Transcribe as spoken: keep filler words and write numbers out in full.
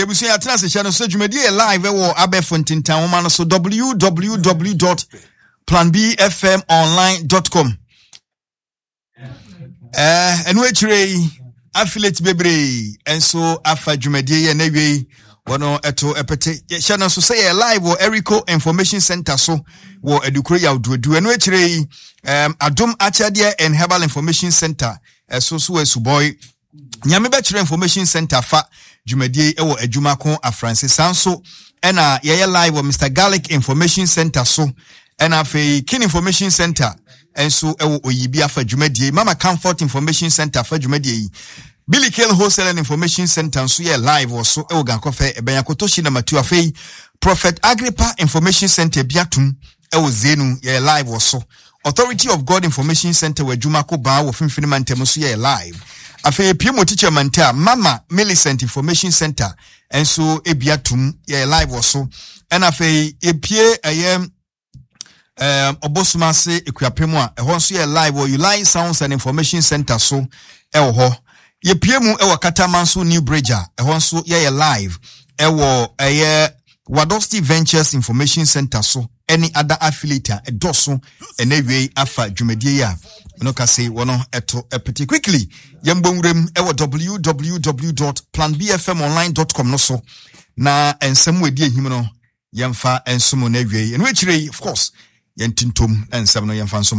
Ebusua, yɛatena ase hyɛ no so. Dwumadie yɛ live wɔ abɛɛfo ntentan nwoma no so, w w w dot planbfmonline dot com. ɛɛ ɛno akyire yi, affiliate bebree nso afa dwumadie yɛ n'awie yi, wɔn ɛto ɛpɛtɛ. Hyɛ no nso sɛ yɛ live wɔ Erico Information Center so wɔ Adukuro Yawduodu. Ɛno akyire yi, um, Adom Akyɛdeɛ and Herbal Information Center ɛso so wɔ Asubɔi. Nyame Bɛkyerɛ Information Center fa dwumadie wɔ Adwuma Ko Afranse. Saa nso ɛna yɛyɛ live wɔ Mister Garlic Information Center so, ɛna afei Kin Information Center nso ɛwɔ Oyibi afa dwumadie. Mama Comfort Information Center afa dwumadie yi. Billy Kale Wholesale and Information Center nso yɛ live wɔ so ɛwɔ Gankɔfɛ ɛbɛn Akotoshi number two. Afei Prophet Agrippa Information Center bi atum ɛwɔ Zenu, yɛyɛ live wɔ so. Authority of God Information Center wɔ Adwuma Ko Baa wɔ Finfin Mantam nso yɛ live. Afei epie mu teacher manta Mama Millicent Information Center nso ebi atum, yɛ live wɔ so. Ɛna afei epie ɛyɛ ɛɛm Ɔbɔsum ase Ekuapem a, ɛhɔ nso yɛ live wɔ Uli Sounds and Information Center so ɛwɔ hɔ. Yɛpie mu ɛwɔ Katamanso New Bridge a, ɛhɔ nso yɛyɛ live ɛwɔ ɛyɛ Wadosti Ventures Information Center so, ɛne ada affiliate a ɛdɔso ɛnɛ wie afa dwumadie yi a ɛno ka se wɔn ɛto ɛpete. Quickly, yɛn bɔ nwuram ɛwɔ w w w dot planbfmonline dot com no so na nsɛm wɔ edi ehim no yɛmfa nsom no awie. Ɛno akyire yi, of course, yɛn tintom na nsɛm no yɛmfa nsom.